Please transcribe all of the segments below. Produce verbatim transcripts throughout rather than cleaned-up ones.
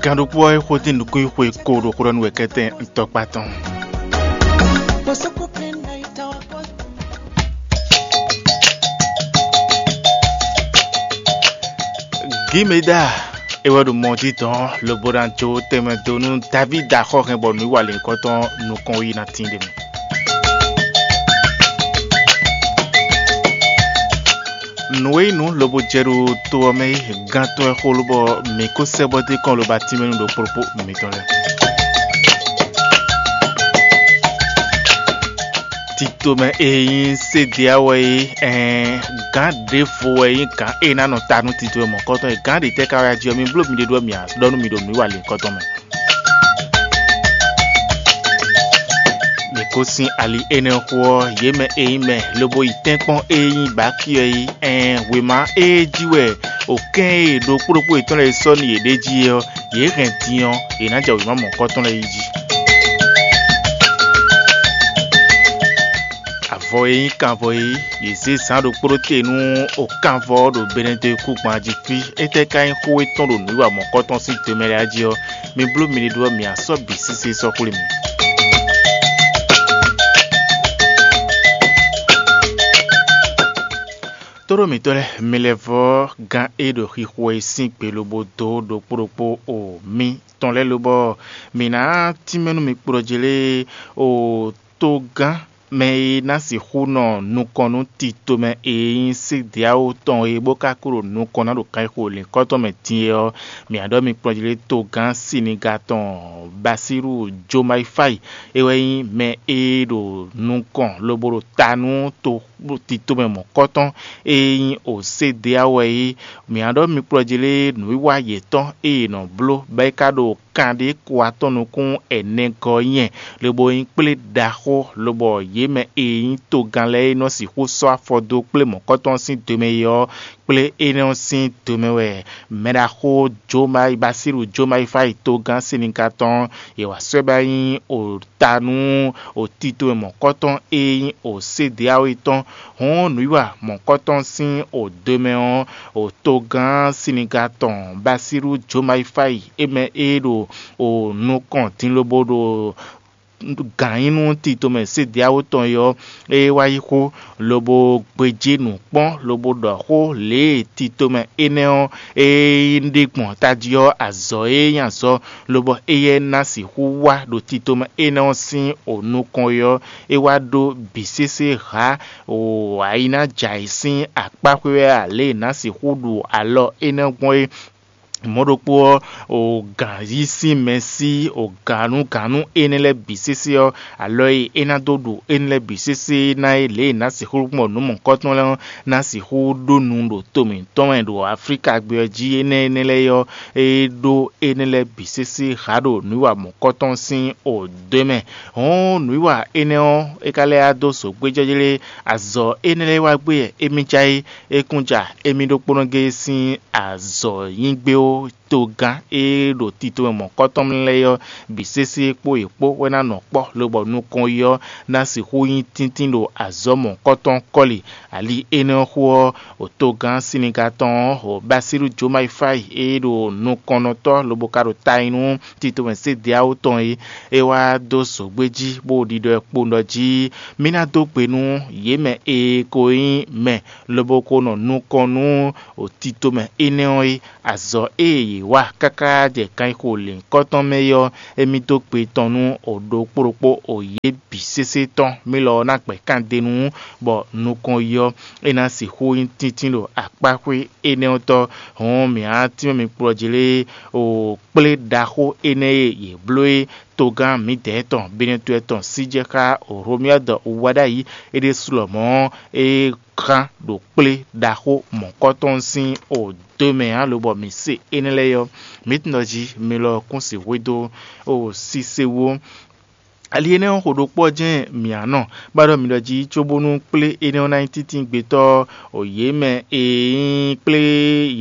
Gǎn ɖokpó ɔ́ e xwedó nukúnxwe ko ɖo xó ɖɔ nú wɛ kɛ́tɛ́ ntɔkpá tɔn. Gímeda é wɛ ɖo mɔ jí dɔn lobo ná jó tɛnmɛ dó nú Davídi axɔ́ hɛn bɔ nǔ yi wa lěhunkɔtɔn nukɔn yi ná tín ɖ'é mɛ. Nǔ e nyí nǔ lobo jɛ ɖo to ɔ́ mɛ é, gán tɔn wɛ xó lobɔ mǐ kó sɛ́ bɔ dé kɔn lobo atínmɛ nú ɖokpó ɖokpó mitɔn lɛ́ɛ. Tito mɛ e nyí Sédeya wɛ é, ɛɛn gǎn ɖěvo wɛ nyí gǎn e ná nɔ ta nú tito e mɔ̌kɔtɔn e gǎn ɖě tɛ́ ka wɛ a jí ɔ́, mi bló miɖée ɖó mǐ ɖɔ nú mì ɖo nǔwiwa lěhunkɔtɔn mɛ. Mǐ ko sín ali énɛ́ xó ɔ́, yě mɛ e nyí mɛ lobo yi tɛ́nkpɔ́n e nyí Baki ɔ́ yi, ɛɛn wěma e jí wɛ o kɛ́n e ɖokpó ɖokpó yětɔn lɛ́ɛ sɔ́ nú yě ɖ'é jí é ɔ́, yě hɛn din ɔ́, yě ná jɛ wěma mɔ̌hunkɔtɔn lɛ́ɛ yi jí. Avɔ e nyí kanvɔ é, yě zé zǎn ɖokpó ɖó te nú o kanvɔ ɔ́ ɖo Benɛdekúgban jí fí. Étɛ́ ka nyí xó e tɔ́n ɖo nǔwiwa mɔ̌kɔtɔn sín do mɛ lɛ́ɛ jí ɔ́, mi bló miɖée ɖó ɔ́, mǐ á sɔ́ bǐ sésé sɔ́ xwlé mi. Tóɖó mǐtɔn lɛ́ɛ, mi lɛ́ vɔ́ gán e ɖo xixo e sín gbe lobo dó ɖokpó ɖokpó o mì tɔn lɛ́ɛ lobɔ mǐ ná tínmɛ nú mi kplɔ́ jlé o togán mɛ e ná sixú nɔ nukɔn nú tito mɛ e nyí Sédeawo tɔn e bó ka kú ɖo nukɔn ná ɖo kanxixo lǐnkɔ́tɔn mɛ din é ɔ́, mǐ ná ɖɔ mi kplɔ́n jlé togán Siniga tɔn Basíru Jomaifáyi. É wɛ nyí mɛ e ɖo nukɔn lobo ɖo ta nú to tito mɛ mɔ̌kɔtɔn e nyí Osédeawo wɛ é. Mǐ ná ɖɔ mi kplɔ́ jlé nǔwiwa yětɔn e yě nɔ bló bɔ é ka ɖo kanɖéko atɔ́ nukún ɛnɛ gɔ́ nyɛ, lobo nyí kplé ɖaxó, lobɔ yě mɛ e nyí togán lɛ́ɛ e nɔ sixú sɔ́ afɔ dó kplé mɔ̌kɔtɔn sín do mɛ é ɔ́, kplé énɛ́ ɔ́ sín do mɛ wɛ mɛɖaxó Jomai Basíru Jomai fá yi togán Siniga tɔn, yě wá sɔ́ ɛ bá nyí o ta nú o tito e mɔ̌kɔtɔn e nyí o Sédeawe tɔn. Hɔn nǔwiwa mɔ̌kɔtɔn sín o do mɛ ɔ́, o togán Siniga tɔn Basíru Jomai fá yi é mɛ e ɖo o nukɔn din lobo ɖo gǎn nyí nú tito mɛ Sédeawo tɔn é ɔ́, é wá yi xó, lobo gbejí nǔ kpɔ́n, lobo ɖɔ xó lě e tito mɛ énɛ́ ɔ́ e ɖe gbɔn tají ɔ́ azɔ̌ e nyí azɔ̌, lobɔ éyɛ́ ná sixú wá ɖo tito mɛ énɛ́ ɔ́ sín o nukɔn é ɔ́, é wá ɖó bǐ sésé hǎ o ayi ná jɛ ayǐ sín akpá xwé wɛ ǎ, lě e è nǎ sixú ɖu alɔ énɛ́ gbɔn é. Mɔ̌ ɖokpó ɔ́, o gǎn yí sín mɛ sí o gǎnúgǎnú énɛ́ lɛ́ɛ bǐ sésé ɔ́, alɔ e é ná dó ɖu énɛ́ lɛ́ɛ bǐ sésé ná é lě e nǎ sixú gbɔn nǔ mɔ̌hunkɔtɔn lɛ́ɛ ɔ́, ná sixú ɖó nu ɖo to mǐtɔn mɛ ɖo Aflíka gbé ɔ́ jí énɛ́ énɛ́ lɛ́ɛ é ɔ́, é ɖó énɛ́ lɛ́ɛ bǐ sésé hǎ ɖo nǔwiwa mɔ̌hunkɔtɔn sín o dó mɛ. Hɔn nǔwiwa énɛ́ ɔ́, é ka lɛ́ wá dó zǒgbéjɛ́jlé azɔ̌ énɛ́ lɛ́ɛ wá gbé wɛ émí cá é. É kún ja émí ɖokpónɔ géé sín azɔ̌ nyi gbé ó, togán e ɖo tito mɛ mɔ̌kɔtɔn lɛ́ɛ ɔ́ bǐ sésé kpó yě kpó wɛ ná nɔ kpɔ́, lobɔ nukɔn yi ɔ́ ná sixú nyí tíntín ɖo azɔ̌ mɔ̌kɔtɔn kɔ́li. Ali énɛ́ ɔ́ xó ɔ́, o togán Siniga tɔn ɔ́, o Basílu Jomaifáyi e ɖo nukɔnnɔtɔ́ lobo ka ɖo ta nyi nú tito mɛ Sédeawo tɔn é, é wá dó zǒgbé jí bó ɖiɖɔ ɛ kpo ɖɔ jí mí ná dó gbe nú yě mɛ e ko nyí mɛ lobo ko nɔ nukɔn nú o tito mɛ énɛ́ ɔ́ é. Azɔ̌ e yě wa káká jɛ kanxixo lěhunkɔtɔn mɛ é ɔ́, émí dó gbe tɔn nú o ɖokpó ɖokpó o yě bǐ sésé tɔn. Mí lɔ ɔ́ ná gbɛ̌ kan d'é nu, bɔ nukɔn yi ɔ́, é ná sixú nyí tíntín ɖo akpáxwé énɛ́ ɔ́ tɔ́. Hɔn mǐ á tínmɛ mi kplɔ́ jlé o kplé ɖaxó énɛ́ e yě bló é. Togán mǐdɛɛ tɔn Benɛtɔ́ tɔn sí jɛ xá Hlomyɔ́dɔ wá ɖ'ayǐ é ɖésú lɔmɔ̌ é gán ɖo kplé ɖaxó mɔ̌kɔtɔn sín o dó mɛ ǎ, lobɔ mǐ se énɛ́ lɛ́ɛ ɔ́, mǐ tunwun ɖɔ jí mi lɔ kún sixú dó o sise wú. Ali énɛ́ ɔ́ xo ɖokpó ɔ́ jɛ́n mǐ á nɔ, bó ɖɔ mi ɖɔ jí cóbónú kplé énɛ́ ɔ́ ná nyí tíntíngbe tɔ́, o yě mɛ e nyí kplé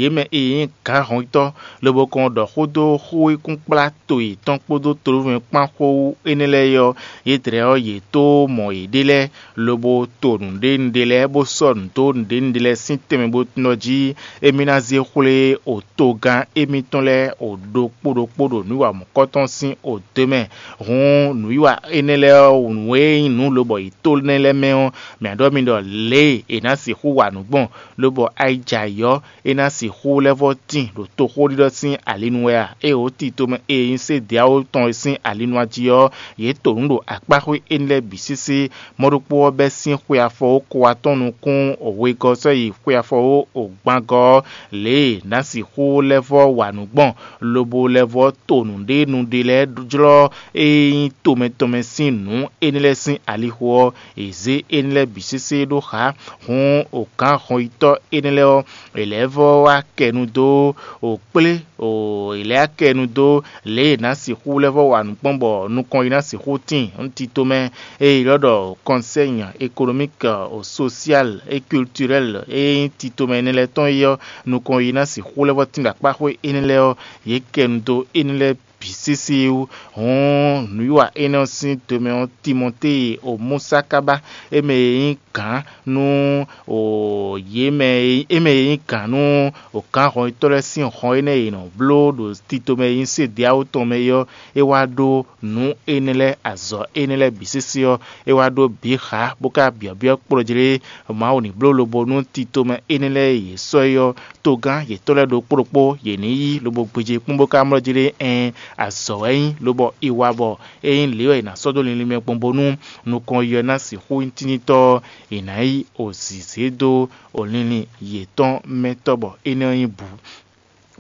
yě mɛ e nyí gǎnhɔntɔ́, lobo kɔn ɖɔ xó dó xó e kún kplá to yětɔn kpódó tolóvɛ́n kpán xó wú énɛ́ lɛ́ɛ é ɔ́, yě dlɛ́ ɔ́, yě tó mɔ yěɖée lɛ́ɛ, lobo to nǔɖénúɖé lɛ́ɛ, bó sɔ́ nǔ dó nǔɖénúɖé lɛ́ɛ sín tɛnmɛ bó nɔ jí émí ná zé xwlé o togán émítɔn lɛ́ɛ o ɖokpó ɖokpó ɖo nǔ wa mɔ̌kɔtɔn sín o dó mɛ. Hǔn nǔwiwa énɛ́ lɛ́ɛ ɔ́, nǔ e nyí nǔ lobɔ yě to énɛ́ lɛ́ɛ mɛ ɔ́, mǐ ɖɔ mi ɖɔ lě e è nǎ sixú wa nǔ gbɔn, lobɔ ayijɛ ayǐ ɔ́, é ná sixú lɛ́ vɔ́ tíin ɖo toxóɖiɖɔ sín ali nu wɛ a? Ée wǒ tito mɛ e nyí Sediawo tɔn e sín ali nu jí ɔ́, yě to nǔ ɖo akpáxwé énɛ́ lɛ́ɛ bǐ sésé. Mɔ̌ ɖokpó ɔ́ bɛ́ sín xwe afɔwókɔ atɔ́ɔ́n nukún wegɔ́ sɔ́ yi xwe afɔwó gban gɔ́ ɔ́, lě e nǎ sixú lɛ́ vɔ́ wa nǔ gbɔn, lobo lɛ́ vɔ́ to nǔɖénu ɖé lɛ́ɛ jlɔ́ e nyí tomɛ tɔn mɛ sín nǔ énɛ́ lɛ́ɛ sín alixo ɔ́, è zě énɛ́ lɛ́ɛ bǐ sésé ɖó xá. Hǔn o gǎn hɔnyitɔ́ énɛ́ lɛ́ɛ ɔ́, è lɛ̌ vɔ́ wá kɛ nu dó o kplé o è lɛ̌ wá kɛ nu dó lě e è nǎ sixú lɛ́ vɔ́ wa nǔ gbɔn bɔ nukɔn yi ná sixú tíin. Nú tito mɛ e è ylɔ́ ɖɔ Conseil économique, social et culturel e nyí tito mɛ énɛ́ lɛ́ɛ tɔn é ɔ́, nukɔn yi ná sixú lɛ́ vɔ́ tín ɖo akpáxwé énɛ́ lɛ́ɛ ɔ́, yě kɛ nu dó énɛ́ lɛ́ɛ bǐ sésé wú. Hǔn nǔwiwa énɛ́ ɔ́ sín domɛ ɔ́, Timɔtée o Musa ka ba, é mɛ e nyí gǎn nú o yě mɛ e é mɛ e nyí gǎn nú o gǎn hɔnyitɔ́ lɛ́ɛ sín hɔn énɛ́ e è nɔ bló ɖo tito mɛ e nyí Sediawo tɔn mɛ é ɔ́, é wá ɖó nǔ énɛ́ lɛ́ɛ, azɔ̌ énɛ́ lɛ́ɛ bǐ sésé ɔ́, é wá ɖó bǐ xá, bó ka byɔ̌byɔ́ kplɔ́jlé Mawu ní bló lobo nú tito mɛ énɛ́ lɛ́ɛ e yě sɔ́ é ɔ́, togán yětɔn lɛ́ɛ ɖokpó ɖokpó yě ní yí lobo gbéjé kpɔ́n bó ka mlɔ́ jí ɖé. Ɛɛn, azɔ̌ wɛ é nyí, lobɔ è wa bɔ é nyí lě wɛ è nǎ sɔ́ dó linlin mɛ gbɔn bónú nukɔn yi ɔ́ ná sixú nyí tínítɔ́ ɔ́, è nǎ yí o zǐzé dó o linlin yětɔn mɛ tɔ́ bɔ énɛ́ ɔ́ nyí bǔ.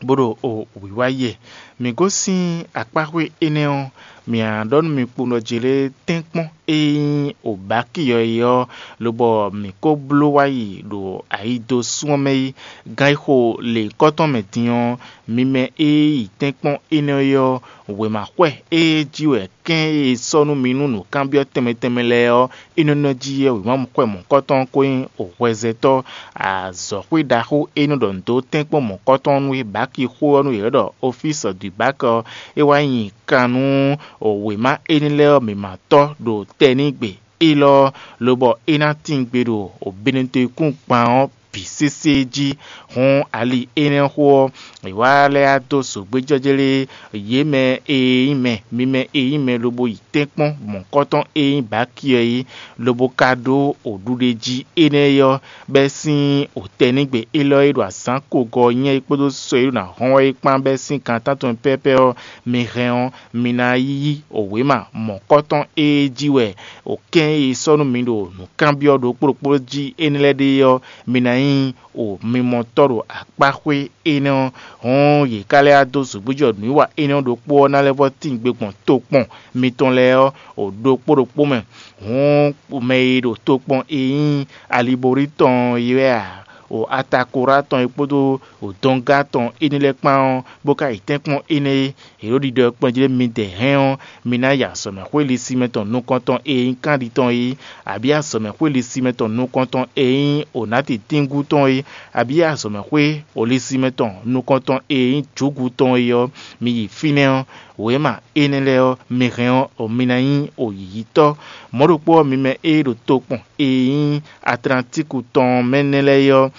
Bó ɖo o wǐwá yi wɛ. Mǐ gosín akpáxwé énɛ́ ɔ́, mǐ ná ɖɔ nú mi kpowun ɖɔ jě lé tɛ́nkpɔ́n e nyí o bǎki ɔ́ é ɔ́, lobɔ mǐ ko bló wá yi ɖo ayido sún ɔ́ mɛ é. Gan e xo lěhunkɔtɔn mɛ din ɔ́, mi mɛ e yi tɛ́nkpɔ́n énɛ́ é ɔ́, wěmaxwɛ e jí wɛ kɛ́n e è sɔ́ nú mi nú nǔkanbyɔ́ tɛnmɛ tɛnmɛ lɛ́ɛ ɔ́, é nɔ nɔ jí wɛ wěma xwɛ mɔ̌kɔtɔn ko nyí hwɛzɛtɔ́ azɔ̌xwé ɖaxó e nɔ ɖɔ nǔ dó tɛ́nkpɔ́n mɔ̌kɔtɔn nú é bǎki xó ɔ́ nú yě ɖɔ Ofísi du Bak ɔ́, é wá nyi kan nú wěma énɛ́ lɛ́ɛ ɔ́ mǐ ma tɔ́ ɖo tɛnígbe élɔ́, lobɔ é ná tín gbe ɖo Benetɔ́kún gban ɔ́ bǐ sésé jí. Hǔn ali énɛ́ xó ɔ́, è wá lɛ́ wá dó zǒgbéjɔ́jlé yě mɛ e nyí mɛ, mi mɛ e nyí mɛ lobo yi tɛ́nkpɔ́n mɔ̌kɔtɔn e nyí bǎki ɔ́ é, lobo ka ɖó wǒɖuɖéjí énɛ́ é ɔ́, bɛ́ sín wǒtɛ́nigbe élɔ́ e ɖo azǎn kogɔ́ ɔ́ nyɛ é kpódó sɔ e ɖo ná hɔn wɛ é kpán bɛ́ sín gan tántɔn pɛ́pɛ́ ɔ́, mi hɛn ɔ́, mi ná yí wěma mɔ̌kɔtɔn e jí wɛ wǒkɛ́n e è sɔ́ nú mi ɖo nǔkanbyɔ́ ɖokpó ɖokpó jí énɛ́ lɛ́ɛ ɖe ɔ́, mi ná nyí o mimɔtɔ́ ɖo akpáxwé énɛ́ ɔ́. Hɔn yě ká lɛ́ wá dó zǒgbíjɔ nǔwiwa énɛ́ ɔ́ ɖokpó ɔ́ ná lɛ́ vɔ́ tín gbe gbɔn tokpɔn mitɔn lɛ́ɛ ɔ́, o ɖokpó ɖokpó mɛ. Hǔn mɛ e ɖo tokpɔn e nyí Aliborí tɔn é wɛ a, o Atakorá tɔn é kpódó o Dɔngá tɔn énɛ́ lɛ́ɛ kpán ɔ́, bó ka yi tɛ́nkpɔ́n énɛ́ é, è ɖǒ ɖiɖɔ kplɔ́n jí ɖé midɛɛ hɛn ɔ́, mi ná yi azɔ̌mɛxwé lisimɛ tɔn nukɔntɔn e nyí Kanɖi tɔn é, abǐ azɔ̌mɛxwé lisimɛ tɔn nukɔntɔn e nyí Onati tíngú tɔn é, abǐ azɔ̌mɛxwé lisimɛ tɔn nukɔntɔn e nyí Jǔgu tɔn é ɔ́, mi yi fínɛ́ ɔ́, wěma énɛ́ lɛ́ɛ ɔ́, mi hɛn ɔ́, mi ná nyí yǐyítɔ́. Mɔ̌ ɖokpó ɔ́, mi mɛ e ɖo tokpɔn e nyí Atlantíku tɔn mɛ nɛ́ lɛ́ɛ é ɔ́,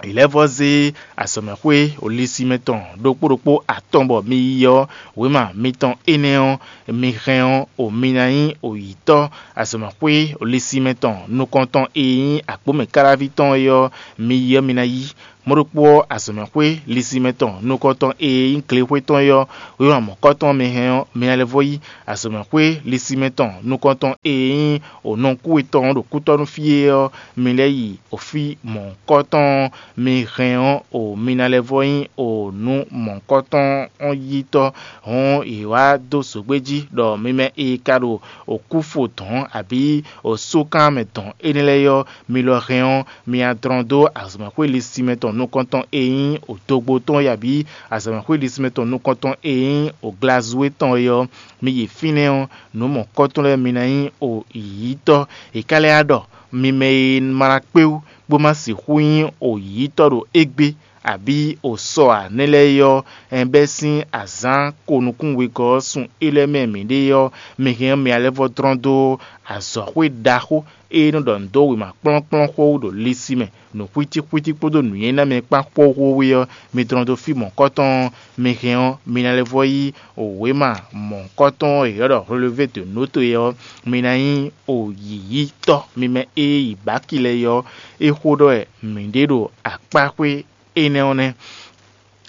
è lɛ́ vɔ́ zé azɔ̌mɛxwé lisimɛ tɔn ɖokpó ɖokpó atɔn bɔ mi yi ɔ́, wěma mitɔn énɛ́ ɔ́, mi hɛn ɔ́, o mi ná nyí oyǐtɔ́. Azɔ̌mɛxwé lisimɛ tɔn nukɔntɔn e nyí agbǒmɛkáláví tɔn é ɔ́, mi yi ɔ́, mi ná yí. Mɔ̌ ɖokpó ɔ́, azɔ̌mɛxwé lisimɛ tɔn nukɔntɔn e nyí glexwé tɔn é ɔ́, wěma mɔ̌kɔtɔn mi hɛn ɔ́, mi ná lɛ́ vɔ́ yí. Azɔ̌mɛxwé lisimɛ tɔn nukɔntɔn e nyí onɔkúwe tɔn ɖo kútɔ́nú fí é ɔ́, mi lɛ́ yi o fí mɔ̌kɔtɔn mi hɛn ɔ́, o mi ná lɛ́ vɔ́ nyí o nǔ mɔ̌kɔtɔn ɔ́ yítɔ́. Hɔn è wá dó zǒgbé jí ɖɔ mi mɛ e ka ɖo o kúfo dɔ̌n abǐ o sókan mɛ dɔ̌n énɛ́ lɛ́ɛ ɔ́, mi lɔ hɛn ɔ́, mi adlɔn dó azɔ̌mɛxwé lisimɛ tɔn nukɔntɔn e nyí odogbo tɔn é abǐ azǎnmɛxwé ɖisínmɛ tɔn nukɔntɔn e nyí oglazúwe tɔn é ɔ́, mi yi fínɛ́ ɔ́, nǔ mɔ̌kɔ́tɔn lɛ́ɛ mi ná nyí o yǐyítɔ́. È ka lɛ́ wá ɖɔ mi mɛ e ma ná kpé wú bó ma sixú nyí o yǐyítɔ́ ɖo égbé, abǐ o sɔ ǎ nɛ́ lɛ́ɛ é ɔ́, ɛn bɛ́ sín azǎn ko nukún wegɔ́ ɔ́ sun é lɛ́ɛ mɛ mǐ ɖe ɔ́, mi hɛn ɔ́ mi ná lɛ́ vɔ́ dlɔ́n dó azɔ̌xwé ɖaxó e nɔ ɖɔ nǔ dó wěma kplɔ́nkplɔ́n xó wú ɖo lisi mɛ, nǔxwítíxwítí kpódó nǔnywɛ́ ná mɛ kpán xóxó wú é ɔ́, mi dlɔ́n dó fí mɔ̌hunkɔtɔn ɔ́, mi hɛn ɔ́, mi ná lɛ́ vɔ́ yí wěma mɔ̌hunkɔtɔn e è ylɔ́ ɖɔ Relevé de Notó é ɔ́, mi ná nyí yǐyítɔ́. Mi mɛ e yi Baki lɛ́ɛ é ɔ́, é xó ɖɔ wɛ mǐ ɖe ɖo akpáxwé énɛ́ ɔ́ nɛ́.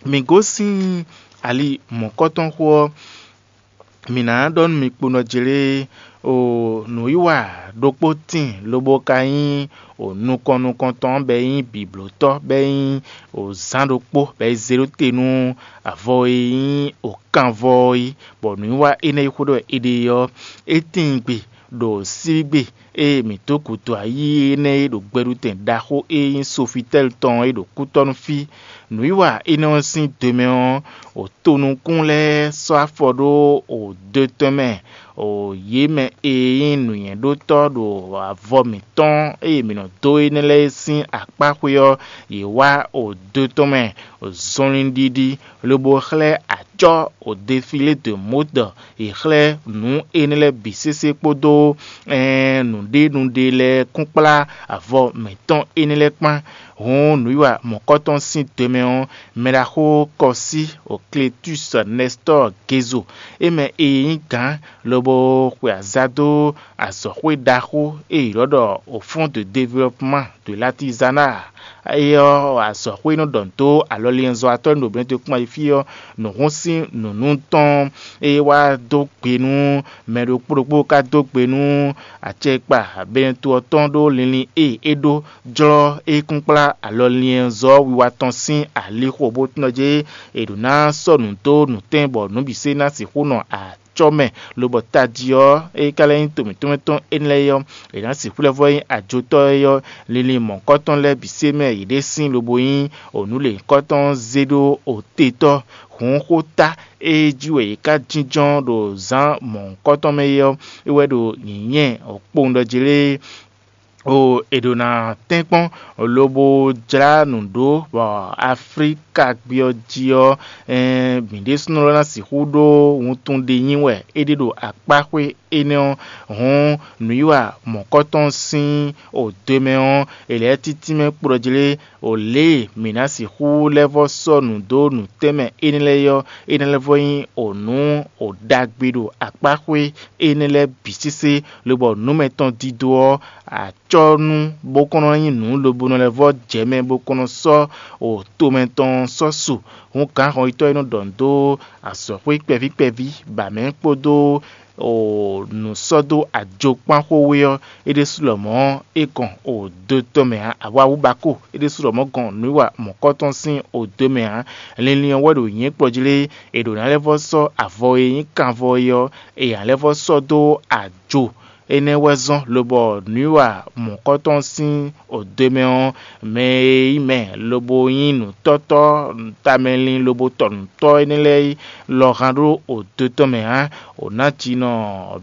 Mǐ gosín ali mɔ̌kɔ́tɔn xó ɔ́, mǐ ná ɖɔ nú mi kpo nɔ jlé o nǔwiwa ɖokpó tíin lobo ka nyí o nukɔn nukɔntɔn bɔ é nyí bǐblótɔ́ bɔ é nyí o zán ɖokpó bɔ é zé ɖó te nú avɔ e nyí o kanvɔ ɔ́ é, bɔ nǔwiwa énɛ́ e xó ɖɔ è ɖe ɔ́, é tíin gbe ɖo síbígbe e mǐ dó gǔdo ayí énɛ́ e ɖo gbɛɖutɛn ɖaxó e nyí Sofitɛ́li tɔn é ɖo kútɔ́ nú fí. Nǔwiwa énɛ́ ɔ́ sín do mɛ ɔ́, o tonukún lɛ́ɛ sɔ́ afɔ ɖó o do tɔn mɛ, o yě mɛ e nyí nǔnywɛ́ɖótɔ́ ɖo avɔ mǐtɔn e mǐ nɔ dó énɛ́ lɛ́ɛ sín akpáxwé ɔ́, yě wá o do tɔn mɛ zɔnlin ɖiɖi, lobo xlɛ́ acɔ́ o defilé de mǒdɔ. È xlɛ́ nǔ énɛ́ lɛ́ɛ bǐ sésé kpódó nǔɖénúɖé lɛ́ɛ kúnkplá avɔ mǐtɔn énɛ́ lɛ́ɛ kpán. Hǔn nǔwiwa mɔ̌kɔ́tɔn sín do mɛ ɔ́, mɛɖaxó Kɔsí o Kletúsi Nɛstɔ́ɔ Gezo, é mɛ e nyí gǎn lobo xwe aza dó azɔ̌xwé ɖaxó e è ylɔ́ ɖɔ o Fonds de Développement de l'Artisanat é ɔ́, azɔ̌xwé e nɔ ɖɔ nǔ dó alɔliɛnzɔ́watɔ́ e ɖo Benɛ́dekpɔ́n ayǐ fí ɔ́, nǔhún sín nǔnú tɔn e wá dó gbe nú mɛ ɖokpó ɖokpó ka dó gbe nú acɛkpa Benɛ́to ɔ́ tɔn ɖó linlin e é ɖó jlɔ́ é kún kplá alɔliɛnzɔ́ wiwa tɔn sín alixo bó tɔ́n jɛ é ɖo ná sɔ́ nǔ dó nǔtɛn bɔ nǔ bǐ se ná sixú nɔ acɔ́ mɛ, lobɔ tají ɔ́, é ka lɛ́ nyí to mǐtɔn mɛ tɔn énɛ́ lɛ́ɛ é ɔ́, è nǎ sixú lɛ́ vɔ́ nyí ajotɔ́ é ɔ́, linlin mɔ̌hunkɔtɔn lɛ́ɛ bǐ se mɛ yě ɖe sín lobo nyí onǔlěnyíkɔtɔn zé ɖó otetɔ́. Hǔn xó ta e jí wɛ yě ká jínjɔ́n ɖo zǎn mɔ̌hunkɔtɔn mɛ é ɔ́, é wɛ ɖo nyǐnyɛ́ kpowun ɖɔ jí lé. O è ɖo ná tɛ́nkpɔ́n lobo jlá nǔ ɖó bɔ Aflíka gbé ɔ́ jí ɔ́, mǐ ɖésúnɔ lɔ ná sixú ɖó wuntun ɖé nyi wɛ é ɖe ɖo akpáxwé énɛ́ ɔ́. Hǔn nǔwiwa mɔ̌kɔtɔn sín o do mɛ ɔ́, è lɛ̌ títí mɛ kplɔ́ jlé o lě e mǐ ná sixú lɛ́ vɔ́ sɔ́ nǔ dó nǔtɛ́nmɛ énɛ́ lɛ́ɛ é ɔ́, é ná lɛ́ vɔ́ nyí o nǔ o ɖagbe ɖo akpáxwé énɛ́ lɛ́ɛ bǐ sésé, lobɔ nǔ mɛtɔn dídó ɔ́, acɔ́nú bó kɔn nɔ nyí nǔ lobo nɔ lɛ́ vɔ́ jɛ mɛ bó kɔn nɔ sɔ́ o tomɛ tɔn sɔ́ su. Hǔn gǎnhɔnyitɔ́ e nɔ ɖɔ nǔ dó azɔ̌xwé kpɛví kpɛví ba mɛ kpódó o nǔ sɔ́ dó ajo kpán xó wé ɔ́, é ɖésú lɔmɔ̌ é gɔn o do tɔn mɛ ǎ. Awawú ba kó é ɖésú lɔmɔ̌ gɔn nǔwiwa mɔ̌kɔtɔn sín o do mɛ ǎ. Linlin ɔ́ wɛ ɖo nyǐ kplɔ́ jí lé, è ɖǒ ná lɛ́ vɔ́ sɔ́ avɔ e nyí kanvɔ é ɔ́, è nǎ lɛ́ vɔ́ sɔ́ dó ajo. Énɛ́ wɛ zɔ́n lobɔ nǔwiwa mɔ̌kɔtɔn sín o do mɛ ɔ́, mɛ e nyí mɛ lobo nyí nǔtɔ́tɔ́ tamɛlin lobo tɔ nǔtɔ́ énɛ́ lɛ́ɛ é lɔ hán ɖó o do tɔn mɛ ǎ. O ná jinɔ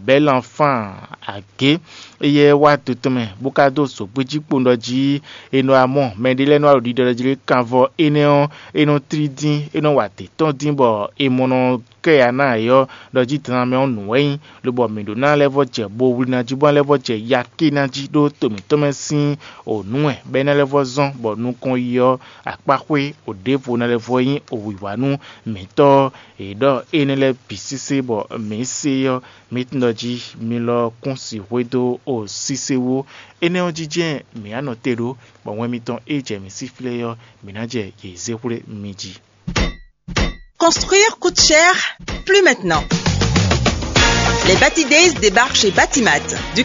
bɛ́ lanfán agě. Éyɛ́ wá do tɔn mɛ bó ka dó zǒgbéjí kpowun ɖɔ jí è nɔ wá mɔ mɛɖé lɛ́ɛ nɔ wá ɖo ɖiɖɔ jí lé kanvɔ énɛ́ ɔ́, é nɔ tlí dín, é nɔ wa dě tɔn dín bɔ è mɔ nɔ kɛ ya ná ayǐ ɔ́, ɖɔ jí dana mɛ ɔ́ nǔ wɛ nyí, lobɔ mǐ ɖó ná lɛ́ vɔ́ jɛ bo wlí ná jí bó ná lɛ́ vɔ́ jɛ yaké ná jí ɖó to mǐtɔn mɛ sín o nǔ wɛ, bɔ é ná lɛ́ vɔ́ zɔ́n bɔ nukɔn yi ɔ́, akpáxwé o ɖěvo ná lɛ́ vɔ́ nyí o wǐwá nú mǐtɔn. È ɖɔ énɛ́ lɛ́ɛ bǐ sésé bɔ mǐ se ɔ́, mǐ tunwun ɖɔ jí mi lɔ kún sixwé dó o sise wú. Énɛ́ ɔ́ jí jɛ́n mǐ á nɔ te ɖó, bɔ wɛn mitɔn e jɛ mǐ sí flé ɔ́, mǐ ná jɛ yě zé xwlé mi jí. Construire coûte cher, plus maintenant. Les Bati Days débarquent chez Batimat.